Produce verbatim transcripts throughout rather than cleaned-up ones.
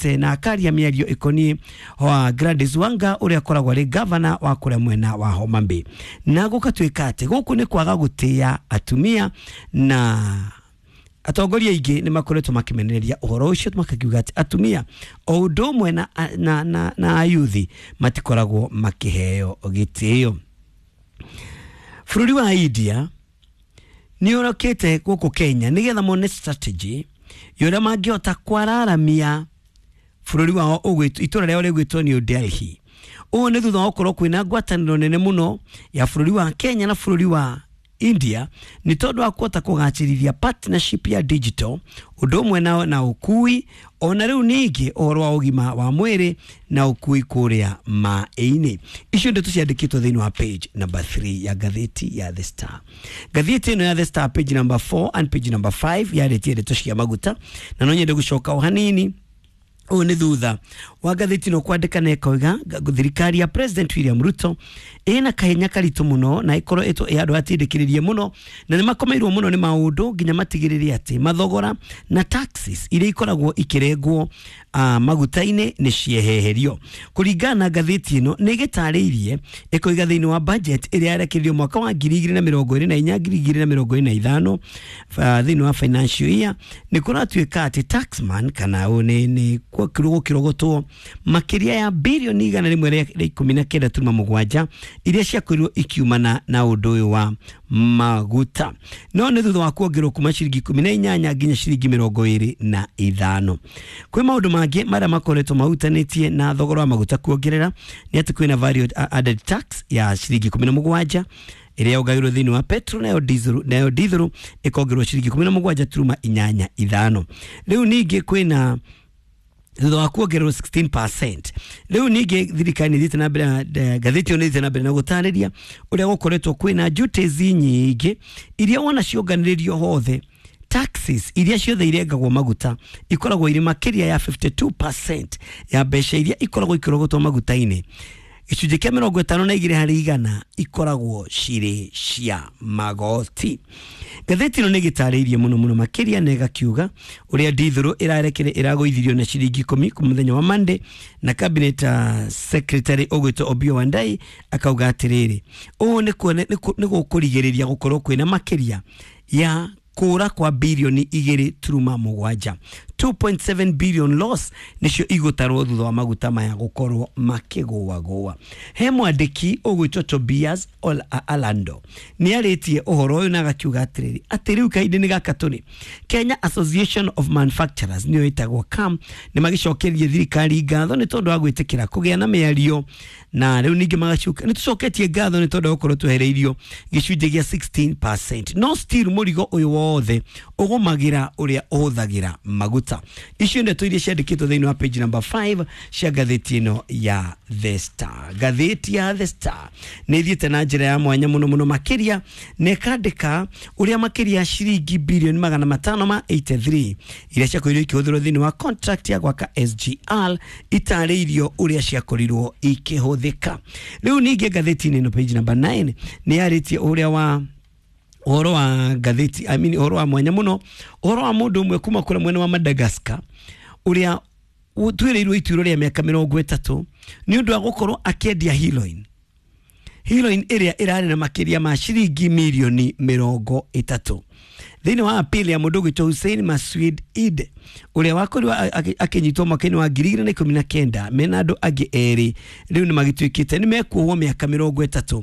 augite na akaria mĩario ĩkoniĩ wa Gladys Wanga ũrĩa akoragwo arĩ gavana wa kũrĩa mwena wa Homa Bay, na gũgatuĩka atĩ gũkũ nĩ kwaga gũtĩa atumia, na atongoria aingĩ nĩ makoretwo makĩmenereria ũhoro ũcio makakiuga atĩ atumia o ũndũ ũmwe na, na, na, na ayuthi matikoragwo makĩheo gĩtĩo. Bũrũri wa India nĩ ũrokĩte gũkũ Kenya nĩgetha mone strategy ya ũrĩa mangĩhota kwararamia bũrũri wao ũgwĩtwo itũra rĩao rĩgwĩtwo New Delhi. Ũũ nĩ thutha wa gũkorwo kwĩna ngwatanĩro nene mũno ya bũrũri wa Kenya na bũrũri wa India nĩ tondũ wa kũhota kũgacĩrithia partnership ya digital ũndũ ũmwe na, na ũkui ona rĩu ningĩ ũhoro wa ũgima wa mwĩrĩ na ũkui kũrĩa maĩ-inĩ. Icio ndeto ciandĩkĩtwo thĩinĩ wa page number three ya ngathĩti ya The Star. Ngathĩti ĩno ya The Star page number four and page number five yarĩtie ndeto cia maguta, na no nyende gũcoka o hanini. Ũũ nĩ thutha wa ngathĩti ĩno kwandĩka na ĩkoiga thirikari ya President William Ruto ĩna kahenya karitũ mũno na ĩkorwo ĩtwo ĩ andũ atindĩkĩrĩrie mũno na nĩ makomeirwo mũno nĩ maũndũ nginya matigĩrĩre atĩ mathogora na taxes iria ikoragwo ikĩrengwo uh, maguta-inĩ nĩ cieheherio. Kũringana na ngathĩti ĩno nĩ ĩgĩtarĩirie ĩkoiga thĩinĩ wa budget ĩrĩa yarekereirio mwaka wa ngiri igĩrĩ na mĩrongo ĩrĩ na inya ngiri igĩrĩ na mĩrongo ĩrĩ na ithano uh, thĩinĩ wa financial year nĩ kũratuĩka atĩ taxman kana ũũ nĩ nĩ gũkĩrogotwo makĩria ya bilioni igana rĩmwe rĩa ikũmi na kenda turuma mũgwanja iria ciakorirwo ikiumana na ũndũ ũyũ wa maguta, no nĩ thutha wa kuongererwo kuma ciringi ikũmi na inyanya nginya ciringi mĩrongo ĩrĩ na ithano. Kwĩ maũndũ mangĩ marĩa makoretwo mahutanĩtie na thogora wa maguta kuongerera nĩ atĩ kwĩna value added tax ya ciringi ikũmi na mũgwanja ĩrĩa yongagĩrwo thĩinĩ wa petrol, nayo diesel nayo diesel ĩkongererwo ciringi ikũmi na mũgwanja turuma inyanya ithano. Rĩu ningĩ kwĩna thutha wa kuongererwo sixteen percent. Rĩu ningĩ thirikari nĩ ĩthiĩte na mbere ngathĩti ĩyo nĩ ĩthiĩte na mbere na gũtarĩria ũrĩa gũkoretwo kwĩna duties nyingĩ iria wona cionganĩrĩrio hothe taxes iria ciothe irengagwo maguta ikoragwo irĩ makĩria ya fifty two percent ya mbeca iria ikoragwo ikĩrogotwo maguta-inĩ. Gĩcunjĩ kĩa mĩrongo ĩtano na igĩrĩ harĩ igana ikoragwo cirĩ cia magoti. Ngathĩti ĩno nĩ ĩgĩtarĩirie mũno mũno makĩria na ĩgakiuga ũrĩa ndithũrũ ĩrarekere ĩragũithirio na ciringi ikũmi kuma mũthenya wa Monday, na cabinet uh, secretary ũgwĩtwo Opiyo Wandayi akauga atĩrĩrĩ ũũ nĩ gũkũrigĩrĩria gũkorwo kwĩna makĩria ya kũra kwa bilioni igĩrĩ turuma mũgwanja two point seven billion loss nĩcio igũtarwo thutha wa maguta maya gũkorwo makĩgũagũa. He mwandĩki ũgwĩtwo Tobias Alando nĩ arĩtie ũhoro ũyũ na agakiuga atĩrĩrĩ atĩ rĩu kahinda-inĩ gaka tũrĩ Kenya Association of Manufacturers nĩyo ĩtagwo KAM nĩ magĩcokerie thirikari ngatho nĩ tondũ wa gwĩtĩkĩra kũgĩa na mĩario, na rĩu ningĩ magacoka nĩ tũcoketie ngatho nĩ tondũ wa gũkorwo twehereirio gĩcunjĩ gĩa sixteen percent, no still mũrigo ũyũ wothe ũgũmagĩra ũrĩa ũhũthagĩra maguta. Icio ndeto iria ciandĩkĩtwo thĩinĩ wa page number five cia ngathĩti ĩno ya The Star. Ngathĩti ya The Star nĩ ĩthiĩte na njĩra ya mwanya mũno mũno makĩria na ĩkandĩka ũrĩa makĩria ciringi bilioni magana matano ma eighty three iria ciakorirwo ikĩhũthĩrwo thĩinĩ wa contract ya gwaka S G R itarĩirio ũrĩa ciakorirwo ikĩhũthĩka. Rĩu ningĩ ngathĩti-inĩ ĩno page number nine nĩ yarĩtie ũrĩa wa ũhoro wa ngathĩti I mean ũhoro wa mwanya mũno ũhoro wa mũndũ ũmwe kuma kũrĩa mwena wa Madagascar ũrĩa ũtuĩrĩirwo ituĩro rĩa mĩaka mĩrongo ĩtatũ nĩ ũndũ wa gũkorwo akĩendia heroin heroin ĩrĩa ĩrarĩ na makĩria ma ciringi mirioni mĩrongo ĩtatũ. Thĩinĩ wa appeal ya mũndũ ũgwĩtwo Hussein Maswid Eid ũrĩa wakorirwo akĩnyitwo mwaka-inĩ wa ngiri igĩrĩ na ikũmi na kenda mena andũ angĩ erĩ rĩu nĩ magĩtuĩkĩte nĩ mekuohwo mĩaka mĩrongo ĩtatũ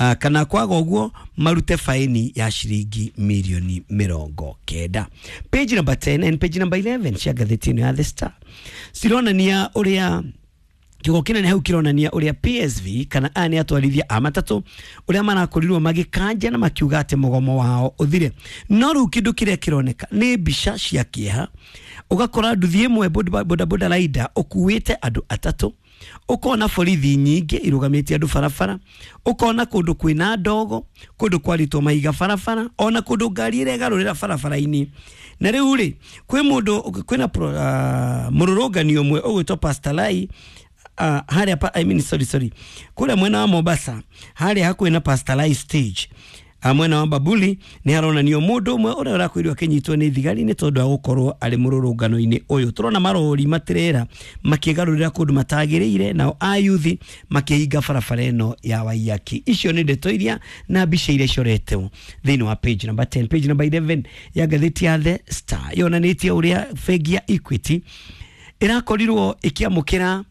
Uh, kana kwaga ũguo marute faini ya ciringi milioni mĩrongo kenda. Page number ten and page number eleven cia ngathĩti ĩno ya The Star cironania ũrĩa kiugo kĩnene hau kĩronania ũrĩa P S V kana aya nĩ atwarithia a matatũ ũrĩa marakorirwo magĩkanja na makiuga atĩ mũgomo wao ũthire. No rĩu kĩndũ kĩrĩa kĩroneka nĩ mbica cia kĩeha, ũgakora nduthi ĩmwe boda boda rider ũkuĩte andũ atatũ, ũkona borithi nyingĩ irũgamĩtie andũ barabara, ũkona kũndũ kwĩna ndogo, kũndũ kwarĩtwo mahiga barabara, ona kũndũ ngari ĩregarũrĩra barabara-inĩ. Na rĩu rĩ kwĩ mũndũ kwĩna uh, mũrũrũngani ũmwe ũgwĩtwo Pastor Lai uh, harĩa pa, I mean sorry sorry kũrĩa mwena wa Mombasa harĩa hakuhĩ na Pastor Lai stage Mwena wa Babuli nĩ haronanio mũndũ ũmwe ũrĩa ũrakorirwo akĩnyitwo nĩ thigari nĩ tondũ wa gũkorwo arĩ mũrũrũngano-inĩ ũyũ. Tũrona marori matirera makĩgarũrĩra kũndũ matagĩrĩire, nao ayuthi makĩhinga barabara ĩno ya Waiyaki. Icio nĩ ndeto iria na mbica iria icoretwo thĩinĩ wa page number ten. Page number eleven ya ngathĩti ya The Star yonanĩtie ũrĩa bengi ya Equity ĩrakorirwo ĩkĩamũkĩra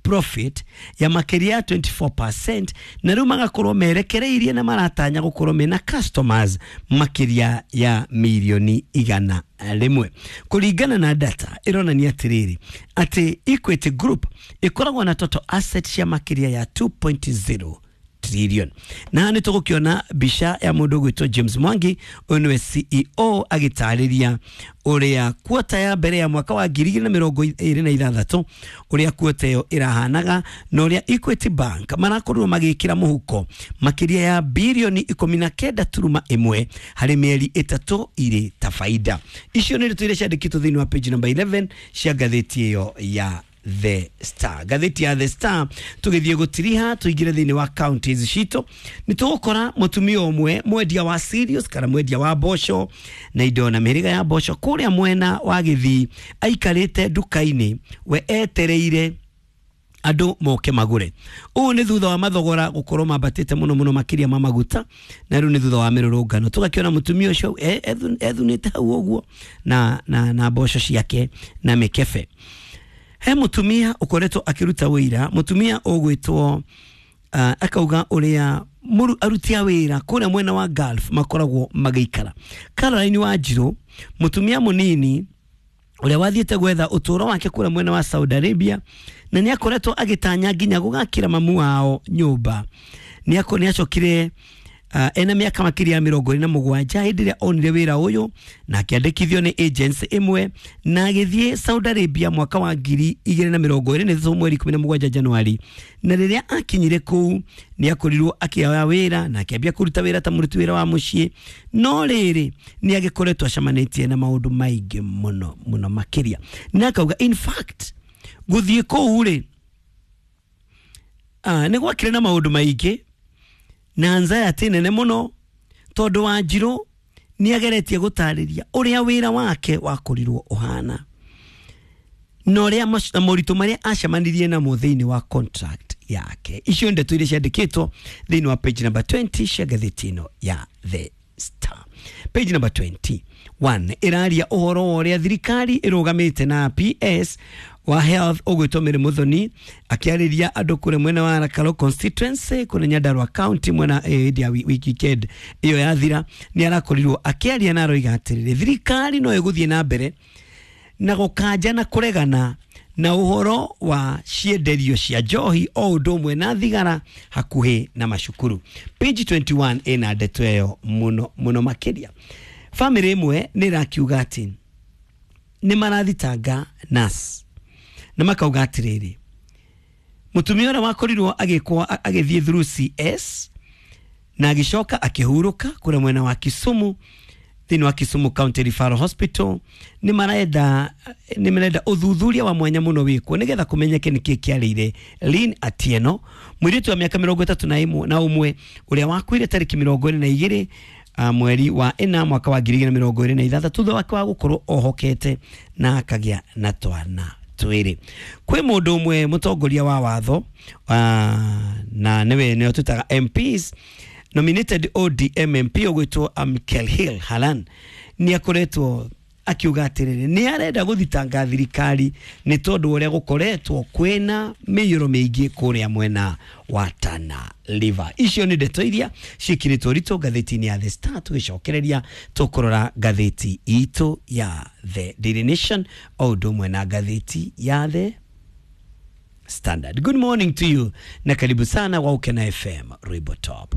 profit ya makĩria ya twenty-four percent, na rĩu magakorwo merekereirie na maratanya gũkorwo mena customers makĩria ya mirioni igana rĩmwe. Kũringana na data ĩronania atĩrĩrĩ atĩ Equity Group ĩkoragwo na total asset cia makĩria ya two point zero trillion. Na nĩ tũgũkĩona mbica ya mũndũ ũgwĩtwo James Mwangi, ũyũ nĩwe C E O, agĩtarĩria ũrĩa kuota ya mbere ya mwaka wa ngiri igĩrĩ na mĩrongo ĩrĩ na ithathatũ ũrĩa kuota ĩyo ĩrahanaga na ũrĩa Equity Bank marakorirwo magĩkĩra mũhuko makĩria ya birioni ikũmi na kenda turuma ĩmwe harĩ mĩeri ĩtatũ irĩ ta faida. Icio nĩ ndeto iria ciandĩkĩtwo thĩinĩ wa page number eleven cia ngathĩti ĩyo ya The Star. Ngathĩti ya The Star tũgĩthiĩ gũtiriha tũingĩre thĩinĩ wa counties citũ nĩ tũgũkora mũtumia ũmwe mwendia wa cereals kana mwendia wa mboco na indo na mĩhĩrĩga ya mboco kũrĩa mwena wa Gĩthii aikarĩte nduka-inĩ we etereire andũ moke magũre. Ũũ nĩ thutha wa mathogora gũkorwo mambatĩte mũno mũno makĩria ma maguta, na rĩu nĩ thutha wa mĩrũrũngano. Tũgakĩona mũtumia ũcio ethunĩte hau ũguo na, na, na mboco ciake na mĩkebe. He mutumia ukoretwo akiruta wira, mutumia ugwitwo uh, akauga uria muru aruti a wira kuria mwena wa Gulf makoragwo magiikara. Caroline Wanjiru, mutumia munini uria wathiete gwetha uturo wake kuria mwena wa Saudi Arabia, na ni akoretwo agitanya nginya gugakira mamu wao nyumba. Ni ako ni acokire Uh, ena miaka makĩria ya mĩrongo ĩrĩ na mũgwanja hĩndĩ ĩrĩa onire wĩra ũyũ na akĩandĩkithio nĩ agency ĩmwe na agĩthiĩ Saudi Arabia mwaka wa ngiri igĩrĩ na mĩrongo ĩrĩ na ithatũ mweri ikũmi na mũgwanja Januari, na rĩrĩa akinyire kũu nĩ akorirwo akĩoya wĩra na akĩambia kũruta wĩra ta mũruti wĩra wa mũciĩ, no rĩrĩ nĩ agĩkoretwo acemanĩtie na maũndũ maingĩ mũno mũno makĩria, na akauga in fact gũthiĩ kũu rĩ uh, nĩ gwakĩrĩ na maũndũ maingĩ na anxiety nene muno tondu Wanjiru ni ageretie gutariria uria wira wake wakorirwo uhana na uria moritũ maria acemanirie namo thiini wa contract yake. Icio ndeto iria ciandĩkĩtwo thiini wa page number twenty cia ngathĩti ĩno ya The Star. Page number twenty-one ĩraria ũhoro wa ũrĩa thirikari ĩrũgamĩte na P S wa Health ũgwĩtwo Mary Muthoni akĩarĩria andũ kũrĩa mwena wa Rakalo constituency kũrĩa Nyandarua county mwena hĩndĩ ya weekend ĩyo yathira, nĩ arakorirwo akĩaria na aroiga atĩrĩrĩ thirikari no ĩgũthiĩ na mbere na gũkanja na kũregana na ũhoro wa cienderio cia njohi o ũndũ ũmwe na thigara hakuhĩ na macukuru. Page twenty-one ĩna ndeto ĩyo mũno mũno makĩria. Famĩlĩ ĩmwe nĩ ĩrakiuga atĩ nĩ marathitanga nurse na makauga atĩrĩrĩ mũtumia ũrĩa wakorirwo agĩkwo agĩthiĩ through C S na agĩcoka akĩhurũka kũrĩa mwena wa Kisumu thĩinĩ wa Kisumu County Referral Hospital nĩ marenda nĩ marenda ũthuthuria wa mwanya mũno wĩkwo nĩgetha kũmenyeke nĩkĩ kĩarĩire Lynn Atieno mũirĩtu wa mĩaka mĩrongo ĩtatũ na ĩmwe na ũmwe ũrĩa wakuire tarĩki mĩrongo ĩrĩ na igĩrĩ uh, mweri wa ĩna mwaka wa ngiri igĩrĩ na mĩrongo ĩrĩ na ithathatũ thutha wake wa gũkorwo ohokete na akagĩa na twana twĩrĩ. Kwĩ mũndũ ũmwe mũtongoria wa watho uh, na nĩwe nĩwe twĩtaga M Ps nominated O D M M P ũgwĩtwo Amkel Hill Halan nĩ akoretwo akiuga atĩrĩrĩ nĩ arenda gũthitanga thirikari nĩ tondũ ũrĩa gũkoretwo kwĩna mĩiyũro mĩingĩ kũrĩa mwena wa Tana River. Icio nĩ ndeto iria ciĩkĩrĩtwo ritũ ngathĩti-inĩ ya The Star. Tũgĩcokereria tũkũrora ngathĩti itũ ya The Daily Nation o ũndũ ũmwe na ngathĩti ya The Standard. Good morning to you na karibu sana wa Ukena F M Rwimbo Top.